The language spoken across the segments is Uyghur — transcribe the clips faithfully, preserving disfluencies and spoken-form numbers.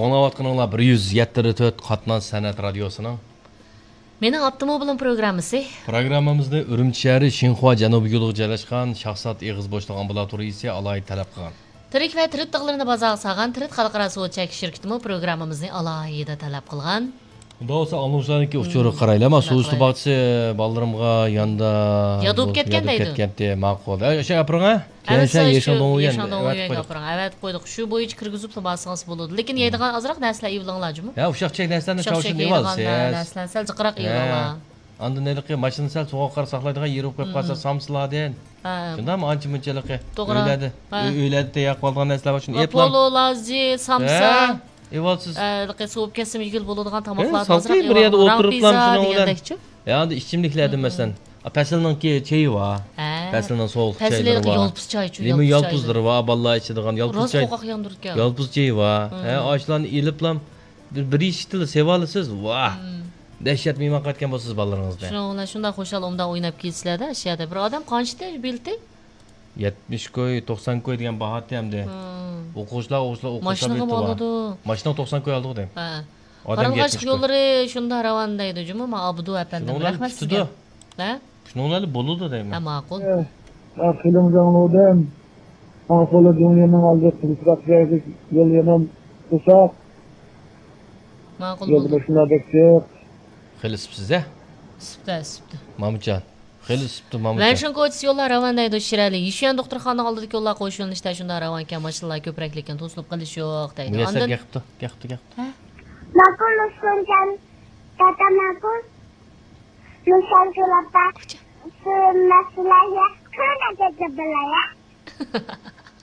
ئاڭلاۋاتقىنىڭلار بىر يۈز يەتتە تۆت قاتناش سەنئەت رادىيوسىنىڭ مېنىڭ ئاپتوموبىلىم پروگراممىسى. پروگراممىمىزنى ئۈرۈمچى شەھىرى شىنخۇا جەنۇبىي يولىغا جايلاشقان شاھزات ئېغىز بوشلۇق ئامبۇلاتورىيىسى ئالاھىدە تەلەپ قىلغان. تىرىك ۋە تىرىت تاغلىرىنى بازارغا سالغان تىرىت خەلقئارا سودا چەكلىك شىركىتىمۇ پروگراممىمىزنى ئالاھىدە تەلەپ قىلغان. ئۇنداق بولسا ئاڭلىغۇچىلارنىڭكى ئۇچۇرىغا قارايلى، ما، سۇ ئۈستى باغچىسى بالىلىرىمغا ياندا ياد بولۇپ كەتكەن دەيدۇ. كەتكەنتى، ماقۇل. ئە، ئاشۇ ئاپىرىڭ، ھە؟ كېيىن شۇ يېشىل دۆڭيۈەن ئەۋەتىپ قويدۇق. شۇ بويىچە كىرگۈزۈپلا بارسىڭىز بولىدۇ. لېكىن يەيدىغان ئازراق نەرسىلەر ئېلىۋېلىڭلار جۇمۇ. ھە، ئۇششاق چۈشەك نەرسىلەرنى چاۋشىنىپ ئېلىۋالسىز. نەرسىلەر سەل جىقراق ئېلىۋېلىڭلار. ئاندىن ھېلىقى ماشىنا سەل سوغۇققا ساقلايدىغان يېرى بولۇپ قالسا، سامسىلاردىن. شۇنداقمۇ ئانچە مۇنچە ھېلىقى ئۆيلەردە، ئۆيلەردە تەييار قىلىۋالىدىغان نەرسىلەر بار، شۇنى ئېلىپلا. پولۇ، لازى، سامسا. ئېلىۋالسىز. ھېلىقى سوۋۇپ كەتسىمۇ يېگىلى بولىدىغان تاماقلار ئازراق ئېلىۋېلىڭلار. ھە، ئاندىن ئىچىملىكلەردىن مەسىلەن، پەسىلنىڭكى چېيى بار. پەسىلنىڭ سوغۇق چايلىرى بار. يالپۇز چاي، لىمون يالپۇزلىرى بار، بالىلار ئىچىدىغان يالپۇز چاي. يالپۇز چېيى بار. ھە، ئاشۇلارنى ئېلىپلا بىر، بىر يېشىكتىلا سېۋالىسىز. ۋاھ! دەھشەت مېھمان قايتقان بولىسىز بالىلىرىڭىز بىلەن. شۇنىڭ بىلەن شۇنداق خۇشال ئومدا ئويناپ كېلىسىلەردە، ئاشۇ يەردە. بىر ئادەم قانچە بېلىتى؟ يەتمىش كوي، توقسان كوي دېگەن باھاتى ئەمدى. ئوقۇغۇچىلار، ئوقۇغۇچىلار، ئوقۇغۇچىلار بېلىتى بار. ماشىنىغا توقسان كوي ئالىدۇ دەيمەن. ھە. قاراڭغۇ ئاشلىق يوللىرى شۇنداق راۋان دەيدۇ جۇمۇ، ما ئابدۇ ئەپەندىم. رەھمەت سىزگە. ھە؟ شۇنىڭلارلا بولىدۇ دەيمەن. ھە، ماقۇل. مەن خېلىمۇ ئاڭلىدىم. ماڭا سولا دۇنيانىڭ ئالدى قىزىقراق جايدەك يول يەنە قىلساق. ماقۇل يولدا بولدى. ماشىنىلار بەك جىق. خېلى ئىسسىپسىز ھە؟ ئىسسىپتۇ، ئىسسىپتۇ. مامۇتجان. خېلى ئىسسىپتۇ، مامۇتجان. ۋەنشىڭ كوچىسى يوللار راۋان دەيدۇ، شىرئەلى. يىشۈەن دوختۇرخانا ئالدىدىكى يوللار قوش يۆنىلىشتە شۇنداق راۋانكەن، ماشىنىلار كۆپرەك، لېكىن توسۇلۇپ قېلىش يوق دەيدۇ. مۇيەسسەر ئاندىن گەپ قىپتۇ، گەپ قىپتۇ، گەپ قىپتۇ. ھە؟ ماقۇل، ئۇستازجان. دادا ماقۇل. مىسال قىلىپ، سۆزلەشلەرگە قانداق بىلەيە؟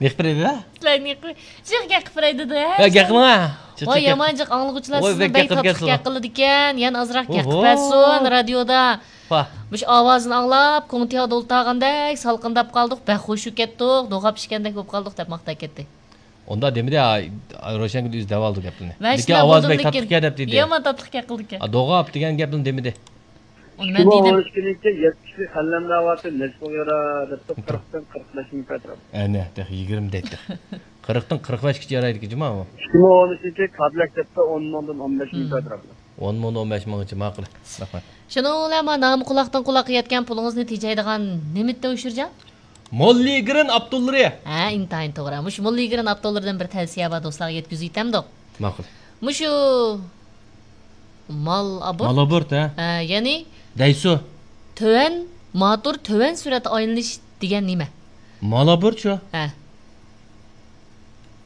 نېقىپ بېرەيدۇ-دە؟ سىلەر نېقىپ، جىق گەپ قىلىپ بېرەيدۇ-دە. ھە، گەپ قىلىڭ. ۋاي، يامان جىق ئاڭلىغۇچىلار سىزنى بەك تاتلىق گەپ قىلىدىكەن. يەنە ئازراق گەپ قىلىپ بەرسۇن رادىيودا. مۇشۇ ئاۋازىنى ئاڭلاپ، كوڭتىياغدا ئولتۇرغاندەك سالقىنداپ قالدۇق، بەك خۇش بولۇپ كەتتۇق، دوغاپ ئىچكەندەك بولۇپ قالدۇق دەپ ماختاپ كەتتى. ئۇنداق دېمىدى، روشەنگۈل ئۆزى دەۋالدى گەپنى. لېكىن ئاۋاز بەك تاتلىقكەن دەپ دېدى. يامان تاتلىق گەپ قىلىدىكەن. دوغاپ دېگەن گەپنى دېمىدى. ئۇنى مەن دېدىم. ئىككى مىڭ ئون ئۈچ يىلى يەتمىش خەنلەمدە ئاۋاتى نەچچە مىڭ يۈرە دەپتۇ، قىرىقتىن قىرىق بەش مىڭ پەترا. ئەنە، تېخى يىگىرمە دەيتتى. قىرىقتىن قىرىق بەشكىچە يارايدىكى جۇما ئۇ. ئىككى مىڭ ئون ئۈچ يىلى كادىلەك دەپتۇ، ئون مىڭدىن ئون بەش مىڭ پەترا. ئون مىڭدىن ئون بەش مىڭغىچە، ماقۇل. رەھمەت. شۇنىڭ بىلەن ما نامى قۇلاقتىن قۇلاققا يەتكەن پۇلىڭىزنى تېجەيدىغان نېمىتتە ئۇچۇرجان؟ موللىگرىن ئاپتوللىرى. ھە، ئىنتايىن توغرا. مۇشۇ موللىگرىن ئاپتوللىرىدىن بىر تەۋسىيە بار، دوستلارغا يەتكۈزۈۋېتەمدۇق؟ ماقۇل. مۇشۇ مال ئابورت. مال ئابورت، ھە. ھە، يەنى دەيسۇ. تۆۋەن ماتور، تۆۋەن سۈرئەتتە ئايلىنىش دېگەن نېمە؟ مال ئابورت شۇ. ھە.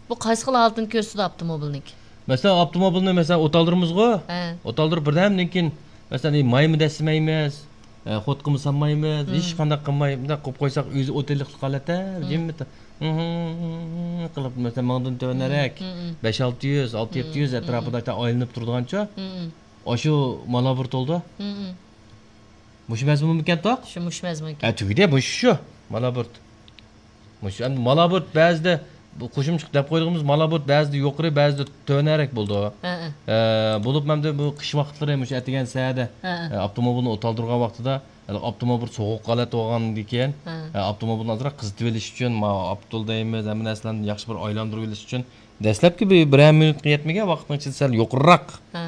بۇ قايسى خىل ھالىتىنى كۆرسىتىدۇ ئاپتوموبىلنىڭكى؟ مەسىلەن، ئاپتوموبىلنى، مەسىلەن، ئوت ئالدۇرىمىزغۇ. ھە. ئوت ئالدۇرۇپ بىردەمدىن كېيىن، مەسىلەن، مايمۇ دەسسىمەيمىز، ئە، خوتقىمۇ سالمايمىز، ھېچقانداق قىلماي، مۇنداق قويۇپ قويساق، ئۆزى ئوتەللىقلىق ھالەتتە، جىممىت قىلىپ، مەسىلەن، مىڭدىن تۆۋەنرەك، بەش ئالتە يۈز، ئالتە يەتتە يۈز ئەتراپىدا ئايلىنىپ تۇرىدىغانچۇ. ئاشۇ مال ئابورت بولىدۇ. مۇشۇ مەزمۇنمىكەن توق؟ شۇ، مۇشۇ مەزمۇنكەن. ھە، تۈگىدى، مۇشۇ شۇ. مال ئابورت. مۇشۇ، ئەمدى مال ئابورت بەزىدە، بۇ قوشۇمچە دەپ قويىدىغىنىمىز مال ئابورت بەزىدە يۇقىرى، بەزىدە تۆۋەنرەك بولىدۇ. ھە، ھە. ئە، بولۇپمۇ ئەمدى بۇ قىش ۋاقىتلىرى مۇشۇ ئەتىگەن سەھەردە، ھە، ھە. ئە، ئاپتوموبىلنى ئوت ئالدۇرغان ۋاقتىدا، ھە، ئاپتوموبىل سوغۇق ھالەتتە بولغاندىن كېيىن، ھە. ئە، ئاپتوموبىلنى ئازراق قىزىتىۋېلىش ئۈچۈن، ما ئاپتول دەيمىز، ھەممە نەرسىلەرنى ياخشى بىر ئايلاندۇرۇۋېلىش ئۈچۈن، دەسلەپكى بىر، بىرەر مىنۇتقا يەتمىگەن ۋاقىتنىڭ ئىچىدە سەل يۇقىرىراق. ھە.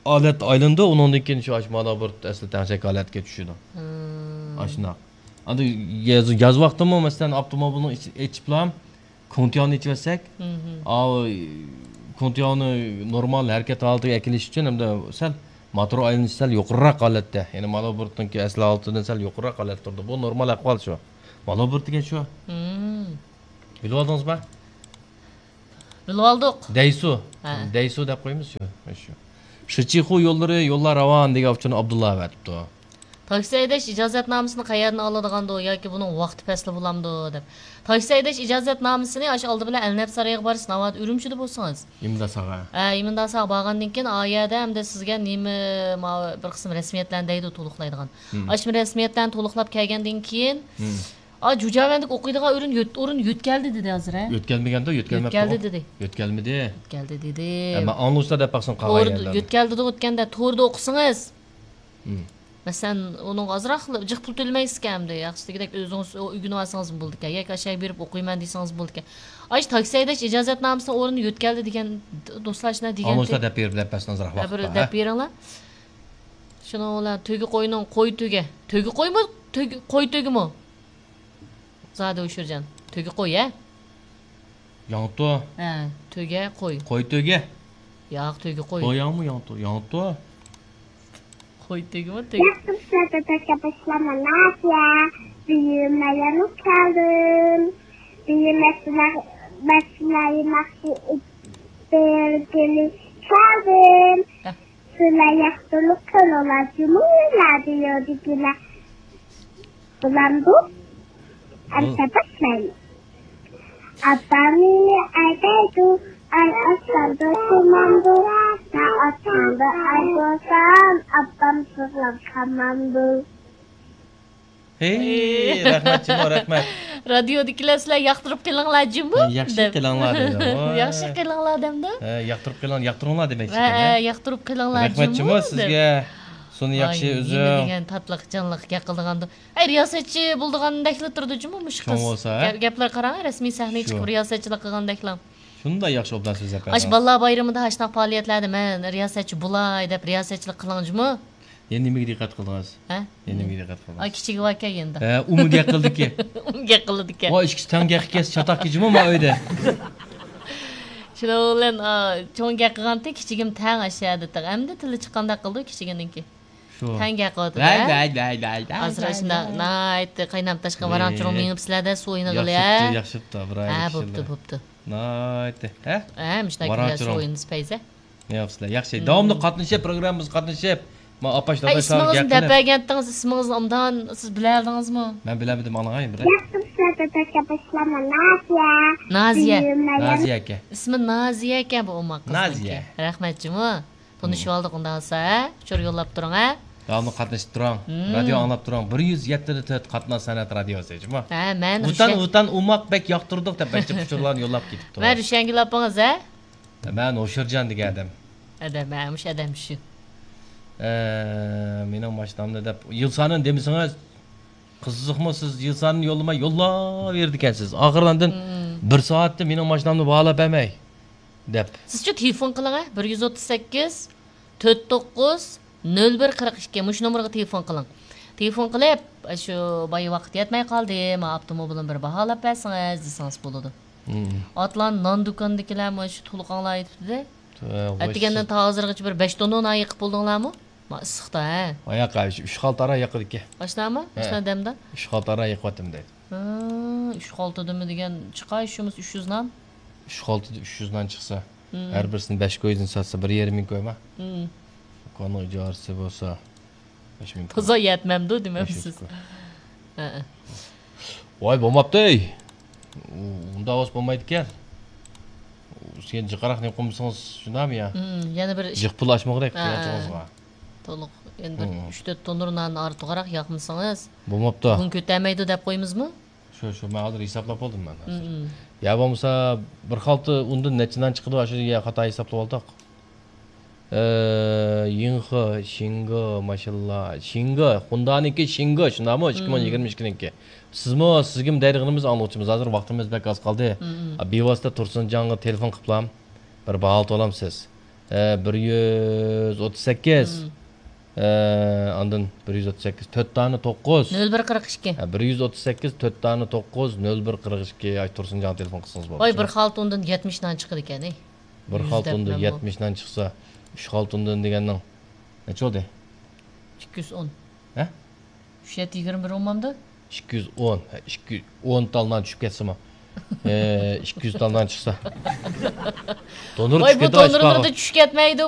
ھالەت ئايلىنىدۇ، ئۇنىڭدىن كېيىن شۇ ئاشۇ مال ئابورت ئەسلى تەڭشەك ھالەتكە چۈشىدۇ. ئاشۇنداق. ئەمدى ياز، ياز ۋاقتىمۇ، مەسىلەن، ئاپتوموبىلنىڭ ئىچ-، ئېچىپلا كوڭتياۋنى ئېچىۋەتسەك، ئاۋۇ كوڭتياۋنى نورمال ھەرىكەت ھالىتىگە ئەكېلىش ئۈچۈن ھەمدە سەل موتور ئايلىنىشى سەل يۇقىرىراق ھالەتتە، يەنى مال ئابورتنىڭكى ئەسلى ھالىتىدىن سەل يۇقىرىراق ھالەتتە تۇرىدۇ. بۇ نورمال ئەھۋال شۇ. مال ئابورت دېگەن شۇ. بىلىۋالدىڭىزمۇ؟ بىلىۋالدۇق. دەيسۇ. ھە. دەيسۇ دەپ قويىمىز شۇ. شۇ. شىچىخۇ يوللىرى، يوللار راۋان دېگەن ئۇچۇرنى ئابدۇللا ئەۋەتىپتۇ. تاكسى ھەيدەش ئىجازەتنامىسىنى قەيەردىن ئالىدىغاندۇ ياكى بۇنىڭ ۋاقتى پەسلى بولامدۇ دەپ. تاكسى ھەيدەش ئىجازەتنامىسىنى ئاشۇ ئالدى بىلەن ئەلنەپ سارىيىغا بارىسىز، ناۋادا ئۈرۈمچىدە بولسىڭىز. ئىمداساغا. ھە، ئىمداساغا بارغاندىن كېيىن، ئا يەردە ئەمدى سىزگە نېمە، ما، بىر قىسىم رەسمىيەتلەرنى دەيدۇ، تولۇقلايدىغان. ئاشۇ رەسمىيەتلەرنى تولۇقلاپ كەلگەندىن كېيىن، ئا، جۇجياۋەندىكى ئوقۇيدىغان ئورۇن يۆت-، ئورۇن يۆتكەلدى دېدى ھازىر، ھە؟ يۆتكەلمىگەندۇ، يۆتكەلمەپتۇ. يۆتكەلدى دېدى. يۆتكەلمىدى. يۆتكەلدى دېدى. ھە، مەن ئاڭلىغۇچىلار دەپ باقسۇن قالغان يۆتكەلدى دېدى. ئۆتكەندە توردا ئوقۇسىڭىز. مەسىلەن، ئۇنىڭغا ئازراق جىق پۇل تۆلىمەيسىزكەن ئەمدى. ياخشى، دېگۈدەك ئۆزىڭىز ئۆگىنىۋالسىڭىز بولىدىكەن. ياكى ئاشۇ يەرگە بېرىپ ئوقۇيمەن دېسىڭىز بولىدىكەن. ئاشۇ تاكسى ھەيدەش ئىجازەتنامىسىنىڭ ئورنىنى يۆتكەلدى دېگەن دوستلار شۇنداق دېگەنتى. ئاڭلىغۇچىلار دەپ بېرىپ، دەپ بەرسىڭىز بىر دەپ بېرىڭلار. شۇنىڭ بىلەن تۆگە قوينىڭ قوي تۆگە. تۆگە قويمۇ؟ تۆگە، قوي تۆگىمۇ؟ زادى ئۇشۇرجان. تۆگە قوي، ھە؟ ياڭتۇ. ھە، تۆگە قوي. قوي تۆگە. ياق، تۆگە قوي. قوي ياڭمۇ ياڭتۇ؟ ياڭتۇ. قوي تۆگىمۇ تۆگە. ياقتۇرسىلەردە تەكە باشلاما نادىيە. بۈگۈن مەيەمۇ كەلدىم. بۈگۈن مەسىلە، مەسىلە يېمەكچى بەرگىلى كەلدىم. ھە. سىلەر ياقتۇرۇپ قىلىڭلار جۇمۇ رادىيودىكىلەر. بولامدۇ؟ ئەمسە باشلايلى. ئاپام مېنى ئەيدەيدۇ، ئەي ئاچامدۇ، سۇمامدۇ. مەن ئاچامدا ئەي بولسام، ئاپام سىغلاپ قالمامدۇ. ھېي، رەھمەت جۇمۇ، رەھمەت. رادىيودىكىلەر سىلەر ياقتۇرۇپ قېلىڭلار جۇمۇ، ياخشى دەپ. قېلىڭلار دەيدۇ. ياخشى قېلىڭلار دەمدۇ. ھە، ياقتۇرۇپ قېلىڭ، ياقتۇرۇڭلار دېمەكچى ھە، ئىكەن، ھە؟ ھە، ياقتۇرۇپ قېلىڭلار رەھمەت جۇمۇ، جۇمۇ، سىزگە. دەپ. سۇنى ياخشى ئۆزۈڭ. نېمە دېگەن تاتلىق جانلىق گەپ قىلىدىغاندۇ. ئەي، رىياسەتچى بولىدىغاندەكلا تۇرىدۇ جۇمۇ مۇشۇ قىز. چوڭ بولسا، ھە؟ گەپ-، گەپلەرگە قاراڭ، رەسمىي سەھنىگە چىقىپ رىياسەتچىلىك قىلغاندەكلا. شۇنداق ياخشى ئوبدان سۆزلەپ بەردىڭىز. ئاشۇ بالىلار بايرىمىدا ئاشۇنداق پائالىيەتلەردە مەن رىياسەتچى بولاي دەپ رىياسەتچىلىك قىلىڭ جۇمۇ. يەنە نېمىگە دىققەت قىلدىڭىز؟ ھە؟ يەنە نېمىگە دىققەت قىلدىڭىز؟ ئا، كىچىكى باركەن يېنىدا. ھە، ئۇمۇ گەپ قىلدىكى. ئۇمۇ گەپ قىلىدىكەن. ۋاي، ئىككىسى تەڭ گەپ قىلسا چاتاق كېچىمۇ ما ئۆيدە. شۇنىڭ بىلەن، ئا، چوڭ گەپ قىلغانتى، كىچىكىم تەڭ ئاشۇ يەردە تېخى. ئەمدى تىلى چىققاندەك قىلدى كىچىكىنىڭكى. شۇ. تەڭ گەپ قىلىۋاتىدۇ، ۋاي، ھە؟ ۋاي، ۋاي، ۋاي، ۋاي، ئازراق ۋاي، شۇنداق ۋاي. ناھايىتى قاينام تاشقان ۋاراڭ-چۇرۇڭ مېڭىپ سىلەردە سۇ ئوينىغىلى، ياخشى ھە؟ بوپتۇ، ياخشى بوپتۇ، بىر ھە، ئايلىق بوپتۇ، كىشىلەر. بوپتۇ. ناھايىتى، ھە؟ ھە، مۇشۇنداق كۈنلەر سۇ ئوينىسا پەيزە. نېمە قىلىسىلەر؟ ياخشى. داۋاملىق قاتنىشىپ، پروگراممىمىزغا قاتنىشىپ، ما ئاپاش، ھە، داداشلار ئىسمىڭىزنى دەپ بەرگەنتىڭىز، ئىسمىڭىزنى ئوبدان سىز بىلەلىدىڭىزمۇ؟ مەن بىلەلمىدىم، ئاڭلاڭ بىر. ياخشى ئىشلاردا تەشەببۇسلارمۇ نازىيە. نازىيە. نازىيە ئىكەن. ئىسمى نازىيە ئىكەن بۇ ئوماق قىزنىڭكى. نازىيە. رەھمەت جۇمۇ. تونۇشۇۋالدۇق ئۇنداق بولسا، ھە؟ ئۇچۇر يوللاپ تۇرۇڭ، ھە؟ داۋاملىق قاتنىشىپ تۇرۇڭ. مم. رادىيو ئاڭلاپ تۇرۇڭ. بىر يۈز يەتتە نۇقتا تۆت قاتناش سەنئەت رادىيوسى جۇمۇ. ھە، مەن ۋۇتان، رۇشەن- ۋۇتان ئوماق بەك ياقتۇردۇق دەپ بەك جىق ئۇچۇرلارنى يوللاپ كېتىپتۇ. مەن رۇشەنگۈل ئاپىڭىز، ھە؟ مەن ھوشۇرجان دېگەن ئادەم. ئادەم، ھە، مۇشۇ ئادەم شۇ. ئە، مېنىڭ ماشىنامنى دەپ، يىل سانىنى دېمىسىڭىز، قىزىقمۇ سىز يىل سانىنى يوللىماي يوللاۋېرىدىكەنسىز. ئاخىرىدا ئاندىن مم. بىر سائەتتە مېنىڭ ماشىنامنى باھالاپ بەرمەي دەپ. سىزچۇ تېلېفون قىلىڭ، ھە، بىر يۈز ئوتتۇز سەككىز، تۆت توققۇز، نۆل بىر قىرىق ئىككى، مۇشۇ نومۇرغا تېلېفون قىلىڭ. تېلېفون قىلىپ، شۇ بايا ۋاقىت يەتمەي قالدى، ما ئاپتوموبىلىمنى بىر باھالاپ بەرسىڭىز دېسىڭىز بولىدۇ. مم. ئاتلان نان دۇكانىدىكىلەرمۇ شۇ تولۇق ئاڭلاۋېتىپتۇ-دە. ھە، ئەتىگەندىن تا ھازىرغىچە بىر بەش توننا نان يېقىپ بولدۇڭلارمۇ؟ ما ئىسسىقتا، ھە؟ ئاياق ئۈچ، ئۈچ خالتا ئارا يېقىدىكەن. ئاشۇنداقمۇ؟ ھە. ئاشۇنداق دەمدە؟ ئۈچ خالتا ئارا يېقىۋاتىمەن دەيدۇ. ھە، ئۈچ خالتا دېمە دېگەن چىقاي شۇمۇ ئۈچ يۈز نان. ئۈچ خالتىدا ئۈچ يۈز نان چىقسا، مم. ھەر بىرسىنى بەش كويدىن ساتسا، بىر يېرىم مىڭ كويما؟ مم. دۇكاننىڭ ئىجارىسى بولسا، بەش مىڭ كوي. تازا يەتمەمدۇ دېمەمسىز؟ بەش يۈز كوي. ھە. ۋاي، بولماپتۇ، ئەي. ئۇ-، ئۇنداق بولسا بولمايدىكەن. سەن جىقراق نېمە قىلمىسىڭىز شۇنداقمۇ يا؟ مم، يەنە بىر ئىش. جىق پۇل ئاچمىغۇدەك ھە. قىيىنچىلىقىڭىزغا. تولۇق. يەنە بىر مم. ئۈچ تۆت تونۇر ناننى ئارتۇقراق ياقمىسىڭىز، بولماپتۇ. بۇنى كۆتەرمەيدۇ دەپ قويىمىزمۇ؟ شۇ، شۇ، مەن ھازىر ھېسابلاپ بولدۇم مەن ھازىر. مم. يا بولمىسا، بىر خالتا ئۇندىن نەچچە نان چىقىدۇ، ئاشۇ يا خاتا ھېسابلاپ ئالدۇق. ئە، يىڭخې، شىڭگې، ماشاللا، شىڭگې، خۇندانىڭكى شىڭگې، شۇنداقمۇ؟ ئىككى مىڭ يىگىرمە ئىككىنىڭكى. مم. سىزمۇ، سىزگىمۇ دەيدىغىنىمىز ئاڭلىغۇچىمىز، ھازىر ۋاقتىمىز بەك ئاز قالدى. مم. ئا، بىۋاسىتە تۇرسۇنجانغا تېلېفون قىپلام، بىر باھا ئالامسىز. ئە، بىر يۈز ئوتتۇز سەككىز. مم. ئە، ئاندىن بىر يۈز ئوتتۇز سەككىز، تۆت دانە توققۇز. نۆل بىر قىرىق ئىككى. ھە، بىر يۈز ئوتتۇز سەككىز، تۆت دانە توققۇز، نۆل بىر قىرىق ئىككى. ئاي، تۇرسۇنجانغا تېلېفون قىلسىڭىز بولىدۇ. ۋاي، بىر خالتا ئۇندىن يەتمىش نان چىقىدىكەن، ئەي. بىر خالتا ئۇندىن يەتمىش نان چىقسا، ئۈچ خالتا ئۇندىن دېگەننىڭ نەچچە بولدى؟ ئىككى يۈز ئون. ھە؟ ئۈچ يەتتە يىگىرمە بىر بولمامدۇ؟ ئىككى يۈز ئون، ھە، ئىككى يۈز ئون تال نان چۈشۈپ كەتسىمۇ. ئە، ئىككى يۈز تال نان چىقسا. تونۇر ۋاي، چۈشۈپ بۇ كېتىدۇ، تونۇرلىرىدا چۈشۈپ كەتمەيدۇ.